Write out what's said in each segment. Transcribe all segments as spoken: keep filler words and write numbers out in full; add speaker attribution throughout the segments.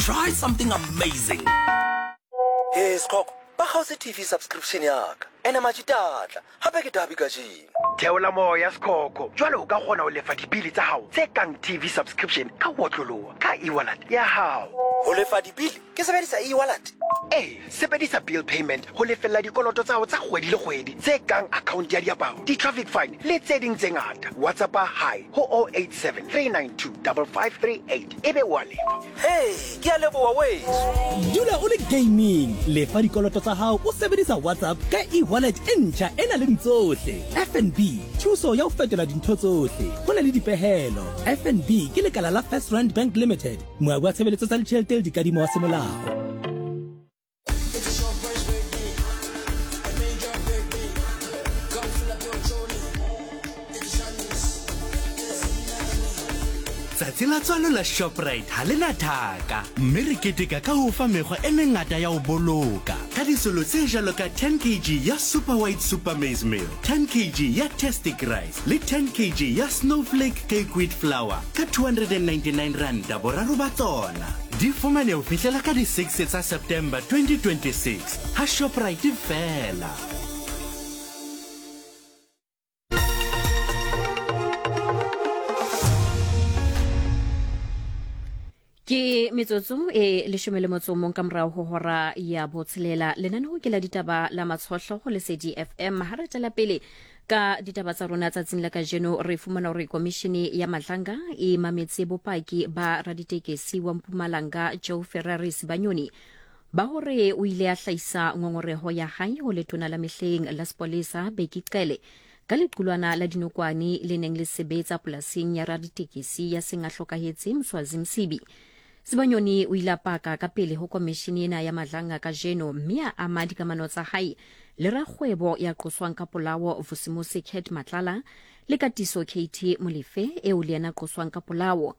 Speaker 1: Try something amazing.
Speaker 2: Hey Skhokho, ba kgaotse T V subscription ya ka. Ene matšitatla, gape ke dabi kajeno.
Speaker 3: Theola moya, Skhokho. Jwale o ka kgona ho lefa dibili tsa hao tse kang T V subscription ka ho otloloha ka e-wallet ya hao.
Speaker 2: Ho lefa dibili ke sebedisa e-wallet?
Speaker 3: Ee, sebedisa bill payment ho lefella dikoloto tsa hao tsa kgwedi le kgwedi tse kang account ya diaparo, di-traffic fine le tse ding tse ngata. WhatsAppa "hi" ho zero eight seven three nine two five five three eight ebe wa lefa.
Speaker 2: Hey, ke a leboha weso.
Speaker 4: Dula o le gaming. Lefa dikoloto tsa hao o sebedisa WhatsApp ka e-wallet e ntjha e nang le tsohle. F N B, thuso ya ho fetola dintho tsohle. Ho na le dipehelo. F N B ke lekala la First Rand Bank Limited, moabi wa tshebeletso tsa ditjhelete le dikadimo wa semolao.
Speaker 5: It's your first birthday, a major birthday. Come fill up your trolley. It's Shanice.
Speaker 6: Tsatsi la tswalo la Shoprite ha le na thaka, mme re keteka ka ho fa mekgwa e mengata ya ho boloka ka disolo tse jwalo ka ten kilograms ya Super White Super Maize Meal, ten kilograms ya Tastic Rice le ten kilograms ya Snowflake Cake Wheat Flour ka two hundred ninety-nine randa boraro ba tsona. Di fumane ho fihlela ka di six tsa September twenty twenty-six ha Shoprite fela.
Speaker 7: Ke metsotso e leshome le motso o mong ka morao ho hora ya botshelela. Lenaneo ke la ditaba la Matshohlo go Lesedi F M. Ha re tswela pele ka ditaba tsa rona tsatsing la kajeno, re fumana hore komishene ya Madlanga e mametse bopaki ba raditekesi wa Mpumalanga Joe Ferrari Sibanyoni ba hore o ile a hlahisa ngongoreho ya hae ho letona la mehleng la sepolesa Bheki Cele ka lequlwana la dinokwane le neng le sebetsa polasing ya raditekesi ya seng a hlokahetse Mswazi Msibi. Sibanyoni o ile a paka ka pele ho komishene ena ya Madlanga kajeno, mme a ama dikamano tsa hae le rakgwebo ya qoswang ka polao Vusimusi Cat Matlala le Katiso K T Molefe eo le yena qoswang ka polao.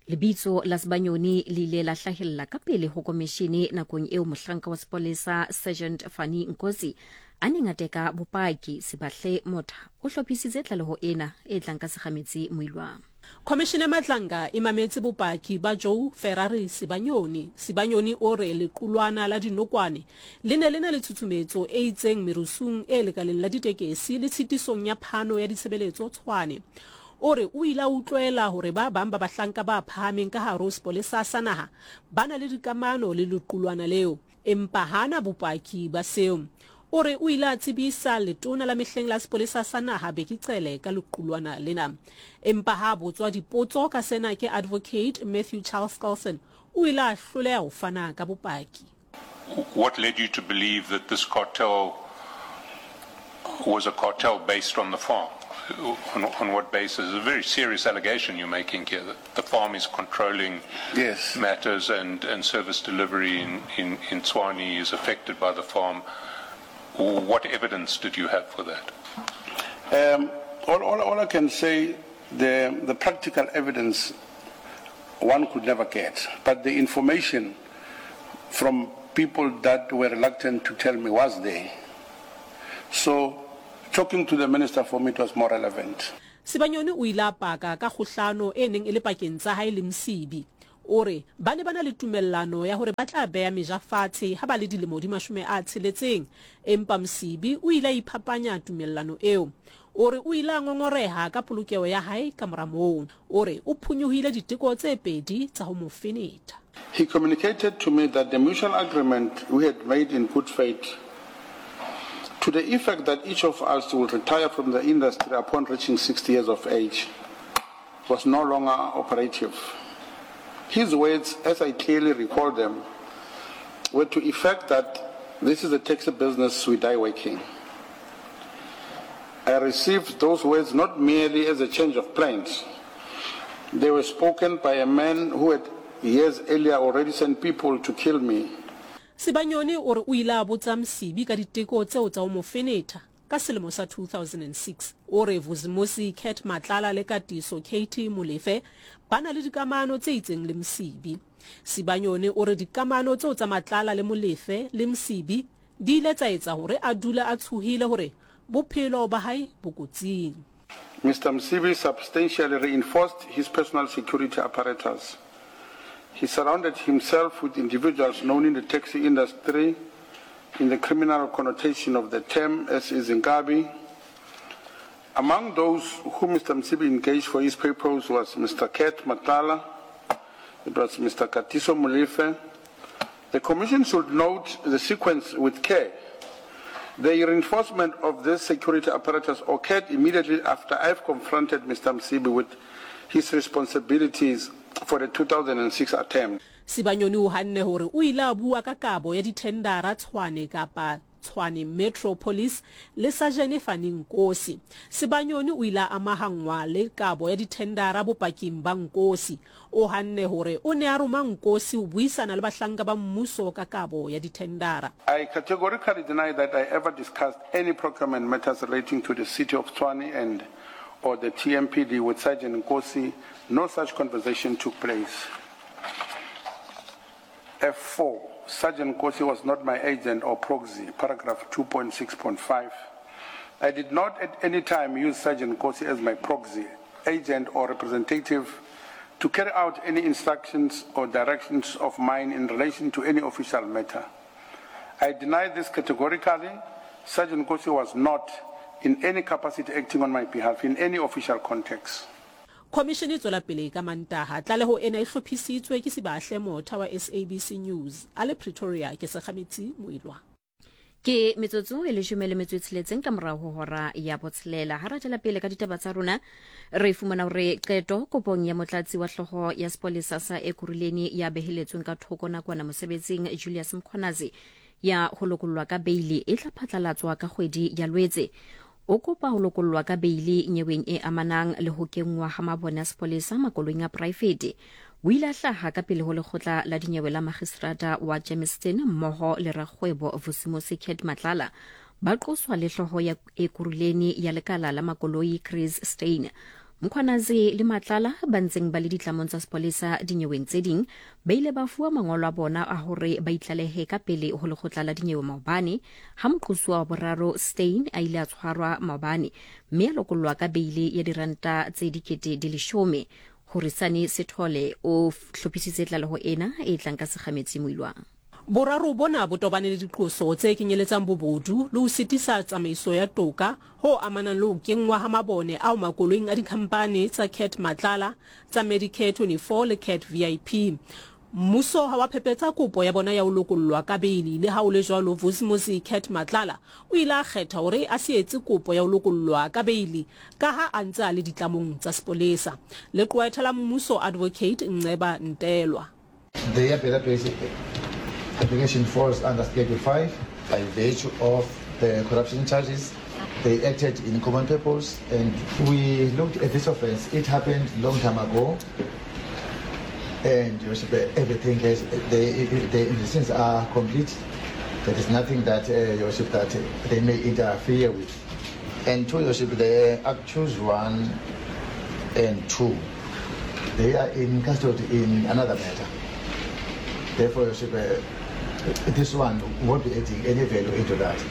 Speaker 7: Lebitso la Sibanyoni le ile la hlahella ka pele ho komishene nakong eo mohlanka wa sepolesa Sergeant Fani Nkosi a neng a teka bopaki. Sebahle Motha o hlophisitse tlaleho ena e tlang ka Segametsi Moilwang.
Speaker 8: Khomishene Madlanga e mametse bopaki ba Joe Ferrari Sibanyoni. Sibanyoni o re lequlwana la dinokwane le ne le na le tshutshumetso e itseng merusung e lekaleng la ditekesi le tshitisong ya phano ya ditshebeletso Tshwane. O re o ile a utlwela hore ba bang ba bahlanka ba phahameng ka hare ho sepolesa sa naha ba na le dikamano le lequlwana leo, empa hana bopaki ba seo. O re o ile a tsebisa letona la mehleng la sepolesa sa naha Bheki Cele ka lequlwana lena, empa ha botswa dipotso ka sena ke Advocate Matthew Chaskalson, o ile a hloleha ho fana ka bopaki.
Speaker 9: What led you to believe that this cartel was a cartel based on the farm? On, on what basis? It's a very serious allegation you're making here, that the farm is controlling
Speaker 10: Yes.
Speaker 9: matters and, and service delivery in, in, in Tshwane is affected by the farm. What evidence did you have for that?
Speaker 10: Um, all, all, all I can say, the, the practical evidence one could never get, but the information from people that were reluctant to tell me was there. So talking to the minister, for me it was more relevant.
Speaker 8: Sibanyoni o ile a paka ka kgohlano e neng e le pakeng tsa hae le Msibi. O re ba ne ba na le tumellano ya hore ba tla beha meja fatshe ha ba le dilemo di mashome a tsheletseng, empa Msibi o ile a iphapanya tumellano eo. O re o ile a ngongoreha ka polokeho ya hae ka mora moo. O re o phonyohile diteko tse pedi tsa ho mo fenetha.
Speaker 10: He communicated to me that the mutual agreement we had made in good faith, to the effect that each of us will retire from the industry upon reaching sixty years of age, was no longer operative. His words, as I clearly recall them, were to effect that this is a taxi business, we die working. I received those words not merely as a change of plans. They were spoken by a man who had years earlier already sent people to kill me.
Speaker 8: Sibanyoni o re o ile a botsa Msibi ka diteko tseo tsa ho mo fenetha ka selemo sa two thousand six. O re Vusimusi Cat Matlala le Katiso K T Molefe ba na le dikamano tse itseng le Msibi. Sibanyoni o re dikamano tseo tsa Matlala le Molefe le Msibi di ile tsa etsa hore a dule a tshohile hore bophelo ba hae bo kotsing.
Speaker 10: Mister Msibi substantially reinforced his personal security apparatus. He surrounded himself with individuals known in the taxi industry in the criminal connotation of the term, as is Inkabi. Among those who Mister Msibi engaged for his purpose was Mister Cat Matlala, it was Mister Katiso Molefe. The Commission should note the sequence with care. The reinforcement of this security apparatus occurred immediately after I've confronted Mister Msibi with his responsibilities for the two thousand six attempt.
Speaker 8: Sibanyoni o hanne hore o ile a bua ka kabo ya dithendara Tshwane kapa Tshwane Metro Police le Sajene Fani Nkosi. Sibanyoni o ile a amahangwa le kabo ya dithendara bopaking ba Nkosi. O hanne hore o ne a roma Nkosi ho buisana le bahlanka ba mmuso ka kabo ya dithendara.
Speaker 10: I categorically deny that I ever discussed any procurement matters relating to the city of Tshwane and or the T M P D with Sergeant Nkosi. No such conversation took place. F four, Sergeant Nkosi was not my agent or proxy, paragraph two point six point five. I did not at any time use Sergeant Nkosi as my proxy, agent or representative to carry out any instructions or directions of mine in relation to any official matter. I deny this categorically. Sergeant Nkosi was not in any capacity acting on my behalf in any official context.
Speaker 8: Commission e tswela pele ka Mantaha. Tlaleho ena e hlophisitswe ke Sibahle Motha wa S A B C News. A le Pretoria ke Sekgametsi Moilwa.
Speaker 7: Ke metsotso e leshome le metso e tsheletseng ka morao ho hora ya botshelela. Ha re tswela pele ka ditaba tsa rona, re fumana hore qeto kopong ya motlatsi wa hlooho ya sepolesa sa Ekurhuleni ya beheletsweng ka thoko nakwana mosebetsing Julius Mkhwanazi ya ho lokollwa ka beili e tla phatlalatswa ka kgwedi ya Lwetse. O kopa ho lokollwa ka beili nyeweng e amanang le ho kenngwa ha mabone a sepolesa makoloing a poraefete. O ile a hlaha ka pele ho lekgotla la dinyewe la magistrata wa Germiston mmoho le rakgwebo Vusimusi Cat Matlala. Ba qoswa le hlooho ya Ekurhuleni ya lekala la makoloi Chris Steyn. Mkhwanazi le Matlala ba ntseng ba le ditlamong tsa sepolesa dinyeweng tse ding ba ile ba fuwa mangolo a bona a hore ba itlalehe ka pele ho lekgotla la dinyewe maobane ha moqosuwa wa boraro Steyn a ile a tshwarwa maobane mme a lokollwa ka beile ya diranta tse dikete di leshome. Horisani Sithole o hlophisitse tlaleho ena e tlang ka Sekgametsi Moilwa.
Speaker 8: Boraro bona bo tobane le diqoso tse kenyeletsang bobodu le ho sitisa tsamaiso ya toka ho amanang le ho kenngwa ha mabone ao makoloing a dikhampani tsa Cat Matlala, tsa Medicare twenty-four le Cat V I P. Mmuso ha wa phephetsa kopo ya bona ya ho lokollwa ka beili. Le ha ho le jwalo, Vusimusi Cat Matlala o ile a kgetha hore a se etse kopo ya ho lokollwa ka beili ka ha a ntse a le ditlamong tsa sepolesa. Leqwetha la mmuso Advocate Nceba Ntelwa.
Speaker 11: Their application falls under Schedule five by virtue of the corruption charges. They acted in common purpose, and we looked at this offense. It happened long time ago, and everything has, the, the investigations are complete. There is nothing that, uh, Your Worship, that they may interfere with. And two, Your Worship, the accused one and two, they are in custody in another matter. Therefore, Your Worship, uh, this one won't be adding any value into that.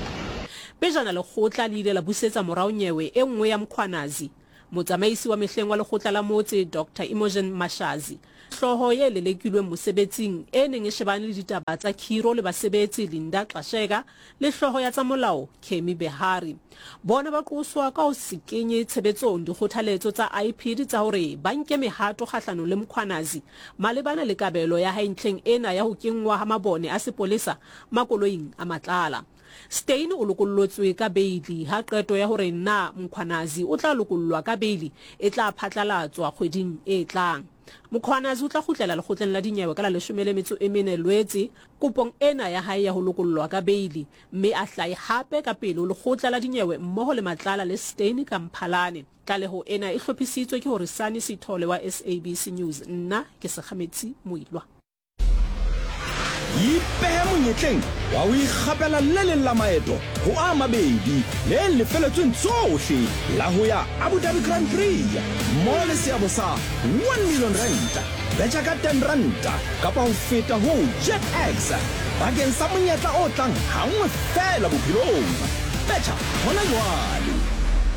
Speaker 8: Pejana lekgotla le ile la busetsa morao nyewe e nngwe ya Mkhwanazi. Motsamaisi wa mehleng wa lekgotla la motse Doctor Imogen Mashazi, hlooho ye lelekilweng mosebetsing e neng e shebane le ditaba tsa khiro le basebetsi Linda Xasheka le hlooho ya tsa molao Kemi Behari. Bona ba qoswa ka ho se kenye tshebetsong dikgothaletso tsa I P D tsa hore ba nke mehato kgahlanong le Mkhwanazi malebana le kabelo ya hae ntlheng ena ya ho kenngwa ha mabone a sepolesa makoloing a Matlala. Steyn o lokollotswe ka beili ha qeto ya hore na Mkhwanazi o tla lokollwa ka beili e tla phatlalatswa kgweding e tlang. Mkhwanazi o tla kgutlela lekgotleng la dinyewe ka la leshome le metso e mene Lwetse kopong ena ya hae ya ho lokollwa ka beili, mme a hlahe hape ka pele ho lekgotla la dinyewe mmoho le Matlala le Steyn ka Mphalane. Tlaleho ena e hlophisitswe ke Horisani Sithole wa S A B C News. Nna ke Sekgametsi Moilwa.
Speaker 12: Ipehe monyetleng wa ho ikgapela le leng la maeto ho a mabedi le lefeletsweng tsohle la ho ya Abu Dhabi Grand Prix mmoho le seabo sa one million rand. Betjha ka ten rand kapa ho feta ho JetX bakeng sa monyetla o tlang hangwe feela bophelong. Betjha hona jwale.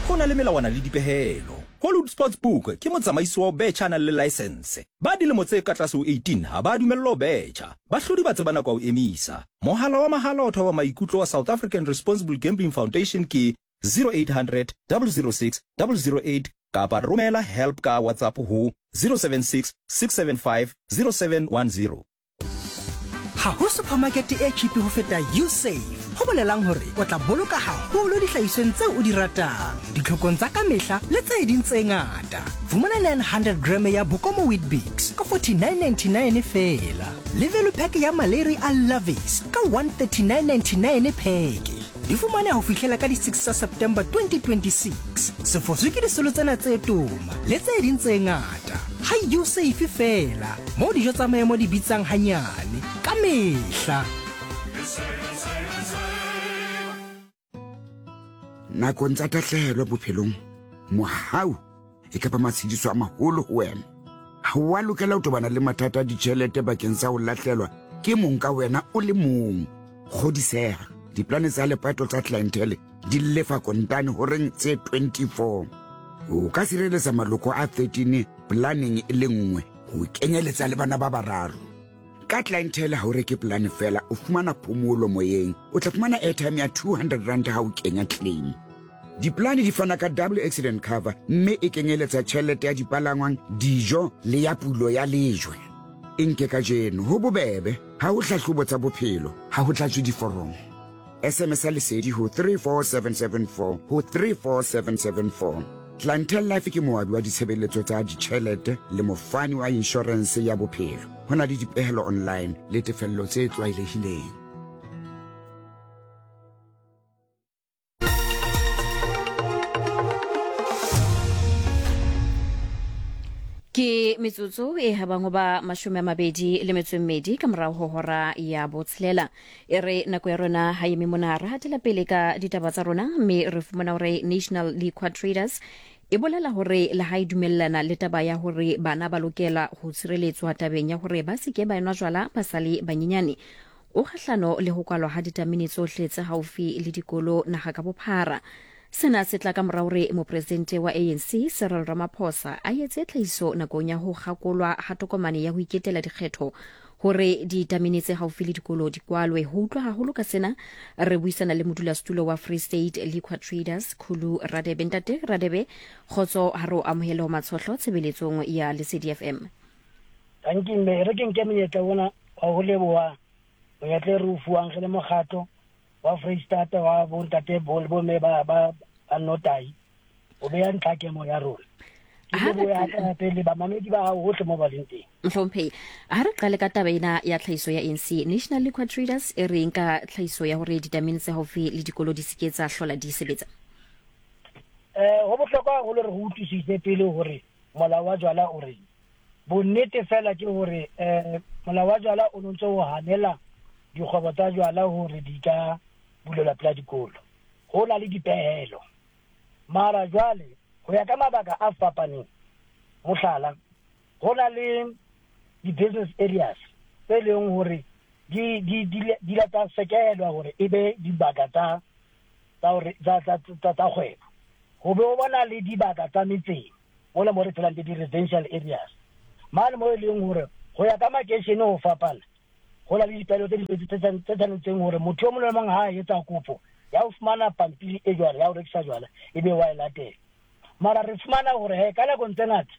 Speaker 12: Ho na le melawana le dipehelo. Hollywood Sportsbook ke motsamaisi wa ho betjha a nang le laesense. Ba dilemo tse ka tlase ho eighteen ha ba dumellwa ho betjha. Bahlodi ba tseba nako ya ho emisa. Mohala wa mahala wa ho thoba maikutlo wa South African Responsible Gambling Foundation ke zero eight hundred double zero six double zero eight kapa romela help ka WhatsApp ho zero seven six six seven five zero seven one zero.
Speaker 13: Ha ho supermarket e cheap ho feta Usave. Ho bolelang hore o tla boloka haholo dihlahisweng tseo o di ratang, ditlhokong tsa kamehla le tse ding tse ngata. Fumana nine hundred gram ya Bokomo Weet-Bix ka forty-nine ninety-nine feela. Le value pack ya Maleri a Lovies ka one thirty-nine ninety-nine pheke. Di fumaneha ho fihlela ka di six tsa September twenty twenty-six. Sefoswe ke disolo tsena tse toma le tse ding tse ngata. Ha Usave feela, moo dijo tsa maemo di bitsang hanyane ka mehla.
Speaker 14: Nakong tsa tahlehelo bophelong, mohau e ka ba matshediso a maholo ho wena. Ha o a lokela ho tobana le mathata a ditjhelete bakeng sa ho lahlelwa ke mong ka wena o le mong. Kgodiseha, diplane tsa lepato tsa clientele di lefa kontane horeng tse twenty-four. O ka sireletsa maloko a thirteen planeng e le nngwe ho kenyeletsa le bana ba bararo. Ka clientele ha o reke plane fela, o fumana phomolo moyeng. O tla fumana airtime ya two hundred rand ha o kenya claim. Diplane di fana ka double accident cover mme e kenyeletsa tjhelete ya dipalangwang, dijo le ya pulo ya lejwe. E nke kajeno ho bobebe, ha ho hlahlobo tsa bophelo, ha ho tlatswe diforomo. S M S ya Lesedi ho three four seven seven four ho three four seven seven four. Clientele Life ke moabi wa ditshebeletso tsa ditjhelete le mofani wa inshorense ya bophelo. Ho na le dipehelo online le tefello tse tlwaelehileng.
Speaker 7: Ke metsotso e habang ho ba mashome a mabedi le metso e mmedi ka morao ho hora ya botshelela. E re nako ya rona ha eme mona, re hatela pele ka ditaba tsa rona, mme re fumana hore National Liquor Traders e bolela hore le ha e dumellana le taba ya hore bana ba lokela ho tshireletswa tabeng ya hore ba se ke ba enwa jwala ba sa le banyenyane. O kgahlano le ho kwalwa ha ditamene tsohle tse haufi le dikolo naha ka bophara. Sena se tla ka mora hore mopresidente wa A N C Cyril Ramaphosa a etse tlhahiso nakong ya ho kgakolwa ha tokomane ya ho iketela dikgetho hore ditamene tse haufi le dikolo di kwalwe. Ho utlwa haholo ka sena re buisana le modulasetulo wa Free State Liquor Traders Khulu Radebe. Ntate Radebe, kgotso, ha re o amohele ho Matshohlo tshebeletsong ya Lesedi F M.
Speaker 15: Thank you mme, re ke nke monyetla ona wa ho leboha monyetla e re o fuwang re le mokgatlo wa Free State wa bontate bo le bomme ba ba ba notai o beya ntlhakemo ya rona. Ke leboha hape le bamamedi ba hao hohle mo ba leng teng.
Speaker 7: Mohlomphehi, ha re qale ka taba ena ya tlhahiso ya A N C, National Liquor Traders e reng ka tlhahiso ya hore ditamene tse haufi le dikolo di se ke tsa hlola di sebetsa?
Speaker 15: Eh, ho bohlokwa haholo re ho utlwisise pele hore molao wa jwala o reng. Bonnete fela ke hore eh molao wa jwala o ntse o hanela dikgwebo tsa jwala hore di ka bulelwa pela dikolo. Ho na le dipehelo. Mara jwale ho ya ka mabaka a fapaneng, mohlala, ho na le di-business areas tse leng hore di di di di la tsa sekelwa hore e be dibaka tsa tsa hore tsa tsa tsa kgwebo. Ho be ho bona le dibaka tsa metseng mola mo re phelang teng, di-residential areas mane mo e leng hore ho ya ka makeishene ho fapana, ho na le dipehelo tse di tse tshwanetseng hore motho o mong le mong ha a etsa kopo ya ho fumana pampiri e jwalo ya ho rekisa jwala e be wa e latela. Mara re fumana hore he ka nako tse ngata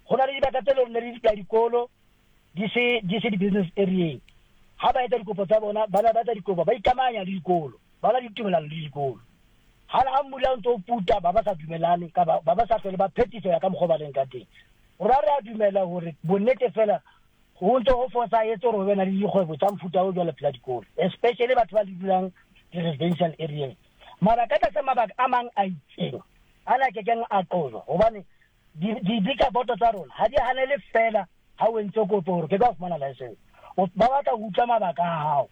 Speaker 15: ho na le dibaka tse leng hore ne di pela dikolo di se di se di-business area. Ha ba etsa dikopo tsa bona, bana ba etsa dikopo ba ikamanya le dikolo, ba na le ditumelano le dikolo. Ha ha mmula o ntso puta ba ba sa dumelane ka ba ba sa hlole ba phetiso ya ka mokgwa ba leng ka teng. Rona re a dumela hore bonnete fela ho ntso ho fosahetse hore ho be na le dikgwebo tsa mofuta o jwalo pela dikolo, especially batho ba dulang di-residential areas. Mara ka tlasa mabaka a mang a itseng ana kekeng a qojwa, hobane di-liquor board tsa rona ha di hanele fela ha o entse kopo hore ke ka fumana license. Ba batla ho utlwa mabaka a hao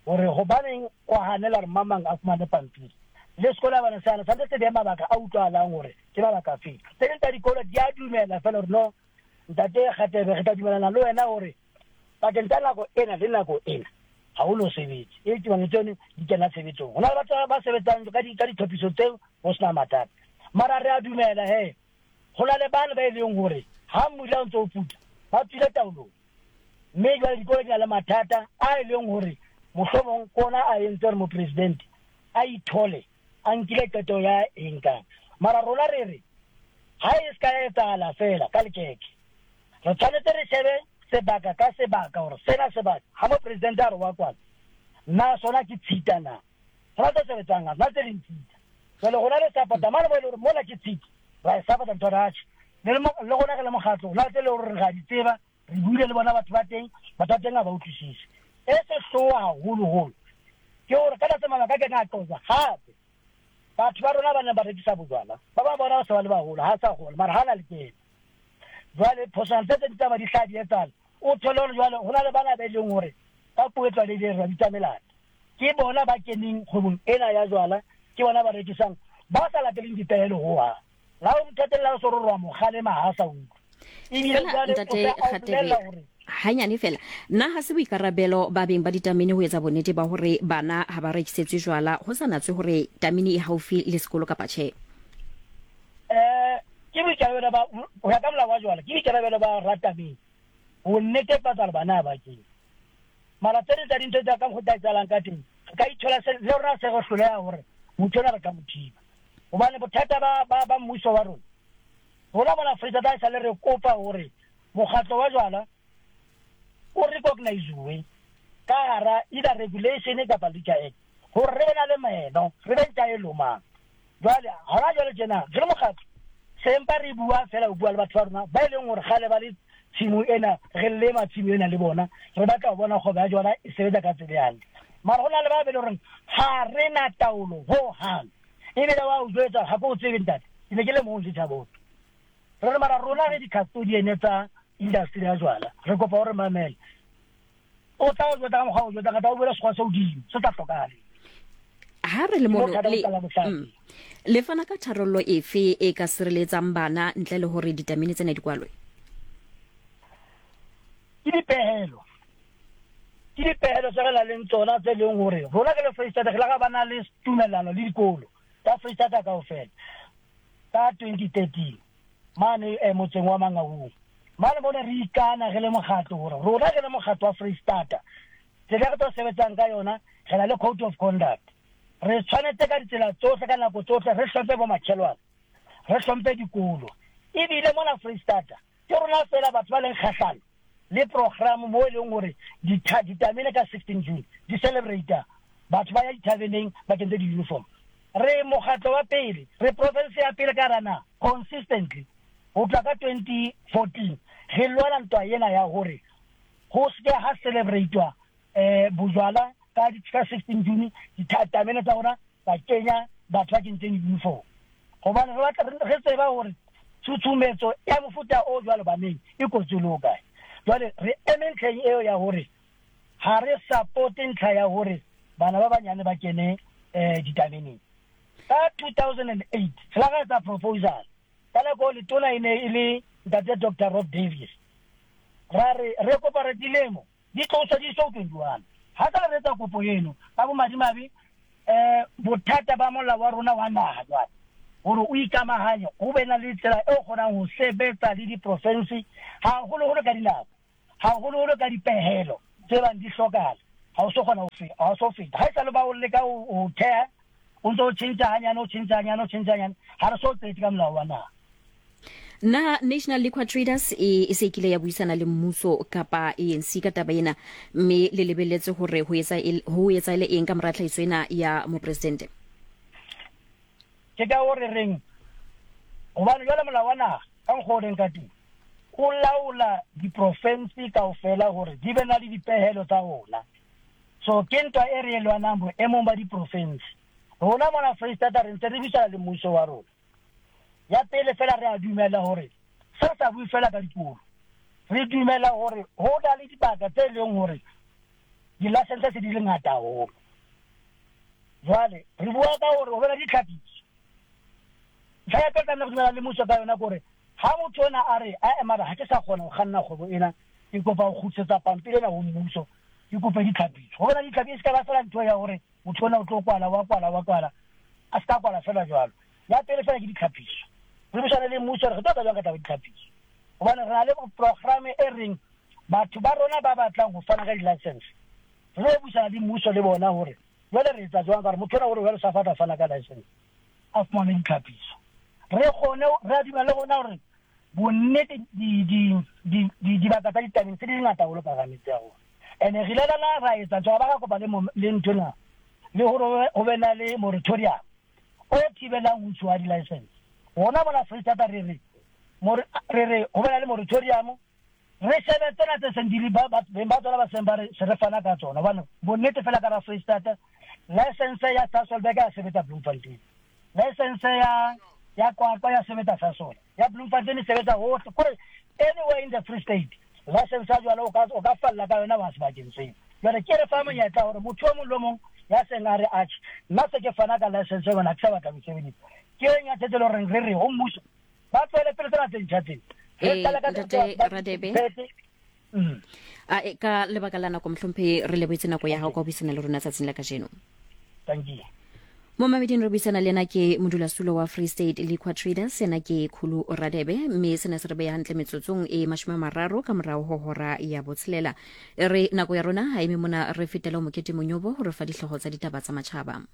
Speaker 15: hore hobaneng o hanela hore mang mang a fumane pampiri. Le sekolo bana se hana, tshwanetse se behe mabaka a utlwahalang hore ke mabaka afe. Tse ding tsa dikolo di a dumela fela hore no ntate Kgatebe re tla dumelana le wena hore pakeng tsa nako ena le nako ena ha o no sebetse. E tumelano tseno di kena tshebetsong. Ho na le batho ba sebetsang ka di ka ditlhophiso tseo ho sena mathata. Mara re a dumela he Go na le bana ba e leng gore ha mmula o ntse o puta ba tswile taolong, mme jwale dikolo di na le mathata a e leng gore mohlomong kona a entse gore mopresidente a ithole a nkile qeto ya eng kang. Mara rona re re ha e se ka ya etsahala fela ka lekeke, re tshwanetse re shebe sebaka ka sebaka gore sena sebaka ha mopresidente a re wa kwala nna sona ke tshita na rona tse sebetsang nna tse ding tshita. Jwale rona re support-a mane mo e le gore mola ke tshita ra e support-a ntho re atjhe le le rona re le mokgatlo rona tse le gore re a di tseba, re buile le bona batho ba teng, batho ba teng ha ba utlwisise. E sehloho haholoholo ke hore ka tlatsa mabaka ke na qosa hape batho ba rona ba neng ba rekisa bojwala ba ba bona ba se ba le baholo ha sa gola mara ha na le kene. Jwale phoswana tse tse di tsamaya di hlaha di etsahala, o thole hore jwale ho na le bana ba e leng hore ka puo e tlwaelehileng re ba bitsa melata, ke bona ba keneng kgwebong ena ya jwala, ke bona ba rekisang ba sa lateleng dipehelo hohang. La o mothatella o so re wa mo kgalema ha sa utlwe. Ebile jwale
Speaker 7: Ntate Kgatebe, hanyane fela nna ha se boikarabelo ba beng ba ditamene ho etsa bonnete ba hore bana ha ba rekisetswe jwala ho sa natswe hore tamene e haufi le sekolo kapa tjhe?
Speaker 15: Eh ke boikarabelo ba ho ya ka molao wa jwala, ke boikarabelo ba ratamene ho netefatsa hore bana ha ba kene. Mara tse ding tsa dintho tsa ka mokgwa o etsahalang ka teng, re ka ithola se le rona se re hloleha hore motho ona re ka mo thiba. Hobane bothata ba ba ba mmuso wa rona, rona mona Afrika Borwa esale re kopa hore mokgatlo wa jwala o recognize-uwe ka hara either regulation kapa Liquor Act hore re be na le meno, re be ntja e lomang. Jwale hona jwale tjena re le mokgatlo se mpa re bua fela ho bua le batho ba rona ba e leng hore kgale ba le tshimo ena, re lema tshimo ena le bona, re batla ho bona kgwebo ya jwala e sebetsa ka tsela e hantle. Mara ho na le ba be le horeng ha re na taolo hohang, ebile wa o jwetsa ha ke o tsebe ntate, ke ne ke le mong setjhabeng. Re re mara rona re di-custodian tsa industry ya jwala, re kopa hore mamele. O tla o jwetsa ka mokgwa o jwetsa ka tla o buela sekgwa se hodimo se tla hlokahale.
Speaker 7: Ha re le
Speaker 15: Ke
Speaker 7: mono
Speaker 15: bothata bo
Speaker 7: le
Speaker 15: qala bohlano.
Speaker 7: mm, le fana ka tharollo efe e ka sireletsang bana ntle le hore ditamene tsena di kwalwe?
Speaker 15: Ke dipehelo, ke dipehelo tse re nang le tsona tse leng hore rona ke le Freistata re la ga ba na le tumellano le dikolo tsa Freistata kaofela ka twenty thirteen mane eh, motseng wa Mangaung. Mane bone re ikana re le mokgatlo hore rona re le mokgatlo wa Freistata tsela re tlo sebetsang ka yona, re na le code of conduct. Re tshwanetse ka ditsela tsohle ka nako tsohle re hlomphe bo makhelwane, re hlomphe dikolo. Ebile mona Freistata ke rona fela batho ba leng kgahlano le program mo e leng hore ditamene ka sixteen June di celebrate batho ba ya dithabeneng ba kentse di-uniform. Re mokgatlo wa pele, re province ya pele ka hara naha consistently ho tloha ka twenty fourteen re lwana ntwa ena ya hore ho se ke ha celebrate-wa eh bojwala ka ka sixteen June ditamene tsa rona ba kenya batho ba kentseng uniform. Hobane re batla re tseba hore tshutshumetso ya mofuta o jwalo baneng e kotsi le ho kae. Jwale re eme ntlheng eo ya hore ha re support ntlha ya hore bana ba banyane ba kene eh ditameneng. Ka two thousand and eight re la etsa proposal ka nako letona e ne e le ntate Doctor Rob Davies. Ra re re kopa re dilemo di tloswe di so twenty-one. Ha ka re etsa kopo eno ka bomadimabe eh bothata ba molao wa rona wa naha jwale hore o ikamahanye ho be na le tsela e kgonang ho sebetsa le diprovince haholoholo ka dinako, haholoholo ka dipehelo tse bang di hlokahala. Ha o so kgona ho feta, ha o so feta. Ha esale ba o leka ho theha, o ntso o tjhentjha hanyane, o tjhentjha hanyane, o tjhentjha hanyane, ha re so tsetse ka molao wa naha.
Speaker 7: Na National Liquor Traders e e se kile ya buisana le mmuso kapa A N C ka taba ena, mme le lebelletse hore ho etsa ho etsa le eng ka mora tlhahiso ena ya mopresidente?
Speaker 15: Ke ka hore reng hobane jwale molao wa naha ka mokgwa o leng ka teng o laola diprovince kaofela hore di be na le dipehelo tsa ona. So ke ntwa e re e lwanang boemong ba diprovince. Rona mona Freistata re ntse re buisana le mmuso wa rona. Ya pele fela re a dumela hore se re sa bue fela ka dikolo, re dumela hore ho na le dibaka tse leng hore di-license se di le ngata haholo. Jwale re bua ka hore ho be le ditlhapiso. Ntlha ya pele tlameha re dumela le mmuso ka yona ke hore ha motho ona a re ae mara ha ke sa kgona ho kganna kgwebo ena, ke kopa ho kgutlisetsa pampiri ena ho mmuso, ke kope ditlhapiso. Ho be le ditlhapiso, e se ka ba fela ntho ya hore motho ona o tlo kwala, wa kwala, wa kwala, a se ka kwala fela jwalo. Ya pele fela ke ditlhapiso. Re buisane le mmuso re tlo etsa jwang ka taba ya ditlhapiso. Hobane re na le programme e reng batho ba rona ba batlang ho fana ka di-license. Re lo buisana le mmuso le bona hore jwale re etsa jwang ka hore motho ona hore jwale sa fatla fana ka license a fumane ditlhapiso. Re kgone re a dumela le rona hore bonnete di di di di dibaka tsa ditabeng tse di ngata haholo ka hara metse ya rona. Ene re ile la ra etsa jwang ba ka kopa le le nthwena le hore ho be na le moratorium o thibelang ho ntshuwa di-license. Rona mona Free State re re re re ho be na le moratorium re shebe tsena tse seng di le ba beng ba tsona ba seng ba re se re fana ka tsona. Hobane bonnete fela ka Free State license ya Sasolburg ya sebetsa Bloemfontein, license ya ya Qwaqwa ya sebetsa Sasol, ya Bloemfontein e sebetsa hohle, kore anywhere in the Free State license ya jwalo o ka o ka falla ka yona wa sebakeng seo. Jwale ke re fa monyetla hore motho o mong le mong ya seng a re atjhe nna se ke fana ka license yona ke sa batla ho sebedisa. Ke eng ya tse le horeng re re ho mmuso ba tswele pele tsena tse ntjha tsena.
Speaker 7: Ee, Ntate Radebe, a e ka lebaka la nako mohlomphehi re lebohetse nako ya hao ka ho buisana le rona tsatsing la kajeno.
Speaker 15: Thank you.
Speaker 7: Mo mameding re buisana le yena ke modulasetulo wa Free State Liquor Traders, yena ke Khulu Radebe, mme sena se re beha hantle metsotsong e mashome a mararo ka morao ho hora ya botshelela. Re nako ya rona ha eme mona, re fetela ho Mokete Monyobo ho re fa dihlooho tsa ditaba tsa matjhaba.